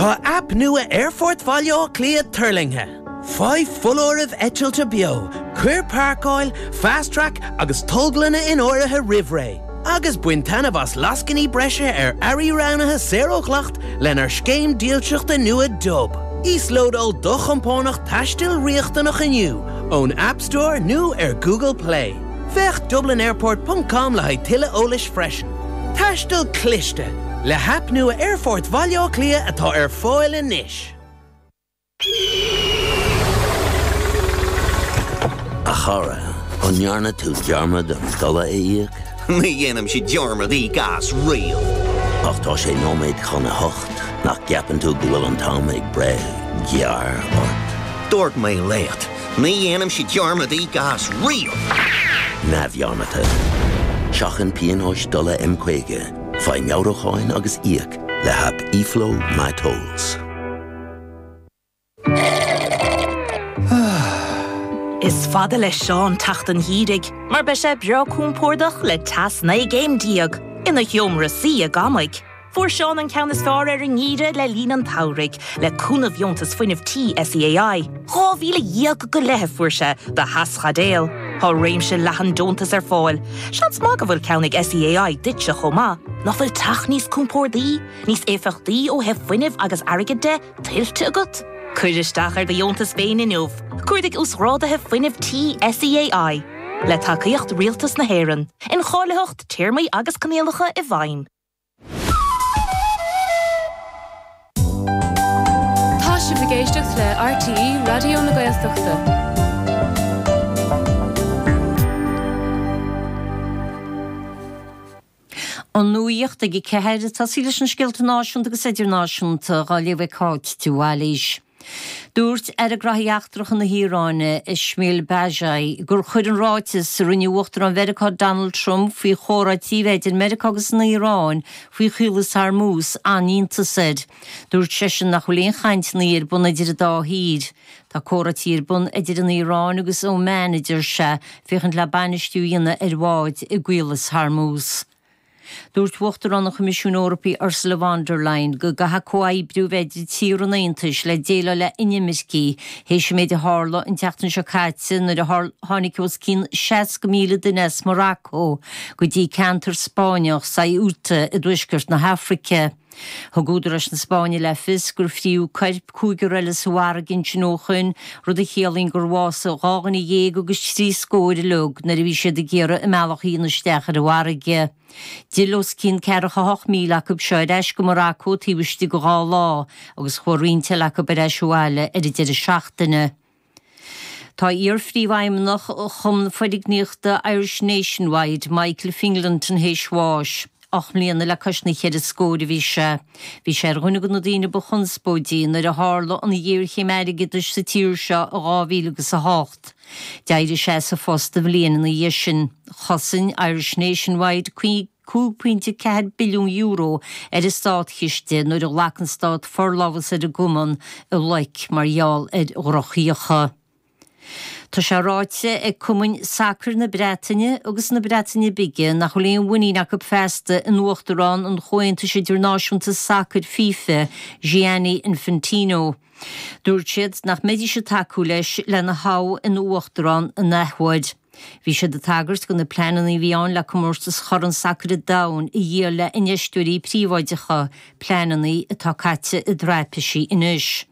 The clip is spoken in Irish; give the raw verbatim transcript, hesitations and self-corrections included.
Tá aip nua Aerfort Bhaile Átha Cliath tuirlingthe. Faigh foláirimh eitilte beo, cuir páirceáil, fast track agus tolglanna in áirithe roimh ré. Agus bain taitneamh as lascainí breise ar earraí roghnaithe saor ó dhleacht lenár scéim dílseachta nua Dub. Íoslódáil do chompánach taistil riachtanach inniu ón App Store nó ar Google Play. Féach dublinairport.com le haghaidh tuilleadh eolais freisin. Taisteal cliste le haip nua Aerfort Bhaile Átha Cliath atá ar fáil anois. A chara, an ndearna tú dearmad an dola a íoc? Ní dhéanaimse dearmad íoc as riamh. Ach tá sé nóiméad chun a hocht nach gceapann tú go bhfuil an t-am ag breith gearr ort. Dúirt mé leat, ní dhéanaimse dearmad íoc as riamh. Neamhdhearmadta. Seachain pionóis dola M caoga, faigh meabhrúcháin agus íoc le haip eFlow MyTolls. Is fada le Seán teacht an gheimhridh, mar beidh sé breá compordach le teas naoi gcéim déag ina sheomra suí i gCamaigh. Fuair Seán an ceann is fearr ar an ngeimhreadh le linn an tsamhraidh, le cúnamh Dheontas Fuinnimh Tí SEAI. Dhá mhíle dhéag go leith a fuair sé do theaschaidéal. Tá réimse leathan deontas ar fáil. Seans maith go bhfuil ceann ag SEAI duitse chomh maith. Nach bhfuil teach níos compordaí, níos éifeachtaí ó thaobh fuinnimh agus airgid de, tuillte agat? Cuir isteach ar do dheontas féin inniu. Cuardaigh Uasghráduithe Fuinnimh Tí SEAI. Le tacaíocht Rialtas na hÉireann. Incháilitheacht, téarmaí agus coinníollacha i bhfeidhm. Tá sibh ag éisteacht le RTÉ Raidió na Gaeltachta. An nuacht ag a ceathair, ag tosaí leis na scéalta náisiúnta agus idirnáisiúnta, á léamh ag Cáit de Bhailís. Dúirt Aire Gnóthaí Eachtracha na hIaráine, Esmaeil Baghaei, gur chuir an ráiteas a rinne Uachtarán Mheiriceá Donald Trump faoi chomhráití a bheith idir Meiriceá agus an Iaráin faoi Chaolas Hormuz an-iontas air. Dúirt seisean nach bhfuil aon chainteanna ar bun idir an dá thír. Tá comhráití ar bun idir an Iaráin agus Oman, a deir sé, féachaint le bainistiú a dhéanamh ar bháid i gCaolas Hormuz. Dúirt Uachtarán an Choimisiúin Eorpaigh Ursula von der Leyen go gcaithfidh comhoibriú a bheith idir tíortha an Aontais le déileáil le inimircigh théis an méid a tharla an tseachtain seo caite nuair a tháinig os cionn seasca míle duine as Morocco go dtí ceantar Spáinneach Ceuta i dtuaisceart na hAfraice. Thug údaráis na Spáinne le fios gur fríodh coirp cúigear eile sa bhfarraige ansin ó shoin, rud a chiallaíonn gur bhásaigh dhá dhuine dhéag agus trí scór uilig nuair a bhí siad ag iarraidh a mbealach a dhéanamh isteach ar an bhfarraige. D'fhill os cionn ceathracha hocht míle acu seo ar ais go Morocco taobh istigh de dhá lá agus chuaigh roinnt eile acu ar ais abhaile ar an deireadh seachtaine. Tá iar-phríomhfheidhmeannach Chumann Foirgníochta Irish Nationwide, Michael Fingleton théis bháis. Ocht mbliana le cois na cheithre scór a bhí sé. Bhí sé ar dhuine de na daoine ba chonspóidí nuair a tharla an ghéarchéim airgeadais sa tír seo i dhá mhíle agus a hocht. D'éirigh sé as a phost an bhliain ina dhiaidh sin. Chosain Irish Nationwide cúig pointe ceathair billiún euro ar an státchiste nuair a ghlac an stát forlámhas ar an gcumann i loic mar gheall ar dhrochfhiacha. Tá sé ráite ag cumainn sacair na Breataine agus na Breataine Bige nach bhfuil aon mhuinín acu feasta in Uachtarán an Chomhaontais Idirnáisiúnta Sacair, FIFA, Gianni Infantino. Dúirt siad nach mbeidís ag tacú leis lena thoghadh ina Uachtarán an athuair. Bhí siad ag tagairt do na pleananna a bhí ann le comórtas Chorn Sacair an Domhain a dhíol le infheisteoirí príobháideacha, pleananna atá caite i dtraipisí anois.